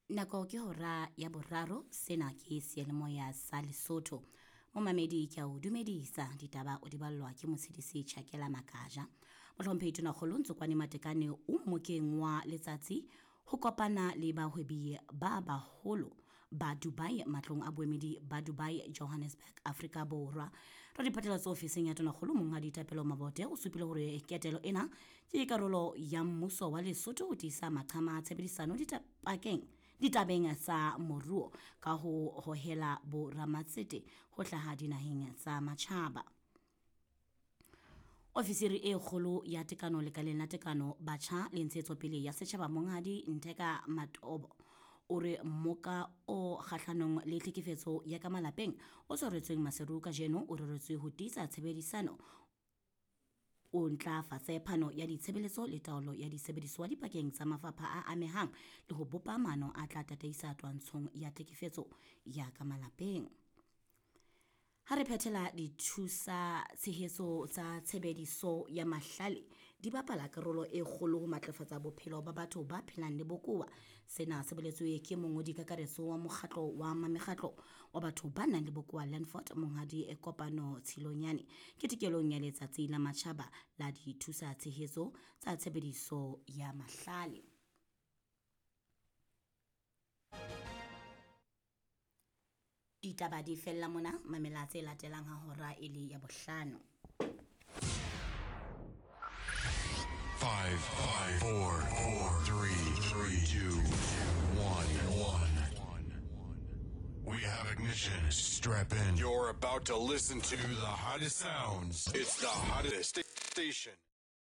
Nako ke hora ya boraro, sena ke seyalemoya sa Lesotho. Momamedi ke a o dumedisa, ditaba o di ballwa ke motshedisi Chakela Makaja. Mohlomphehi Tonakgolo Ntsokwane Matekane o mmokeng wa letsatsi ho kopana le bahwebi ba baholo ba Dubai matlong a boemedi ba Dubai Johannesburg Afrika Borwa. Radiphatlalatso ofising ya Tonakgolo Monghadi Thapelo Mabote o supile hore ketelo ena ke karolo ya mmuso wa Lesotho ho tiisa maqhama a tshebedisano ditapakeng ditabeng tsa moruo ka ho hohela boramatsete ho hlaha dinaheng tsa matjhaba. Ofisiri e kgolo ya tekano lekaleng la tekano batjha le ntshetsopele ya setjhaba Monghadi Ntheka Matobo o re mmoka o kgahlanong le tlhekefetso ya ka malapeng o tshwaretsweng Maseru kajeno o reretswe ho tiisa tshebedisano o ntlafatse phano ya ditshebeletso le taolo ya disebediswa dipakeng tsa mafapha a amehang le ho bopa maano a tla tataisa twantshong ya tlhekefetso ya ka malapeng. Ha re phethela dithusa tshehetso tsa tshebediso ya mahlale di bapala karolo e kgolo ho matlafatsa bophelo ba batho ba phelang le bokowa. Sena se boletswe ke mongodi kakaretso wa mokgatlo wa mekgatlo wa batho ba nang le bokowa Landford Monghadi Kopano Tshilonyane ketekelong ya letsatsi la matjhaba la dithusa tshehetso tsa tshebediso ya mahlale. Ditaba di fella mona, mamela tse latelang ha hora e le ya bohlano. 5, 5, 4, 4, 3, 3, 2, 1, 1. We have ignition. Strap in. You're about to listen to the hottest sounds. It's the hottest station.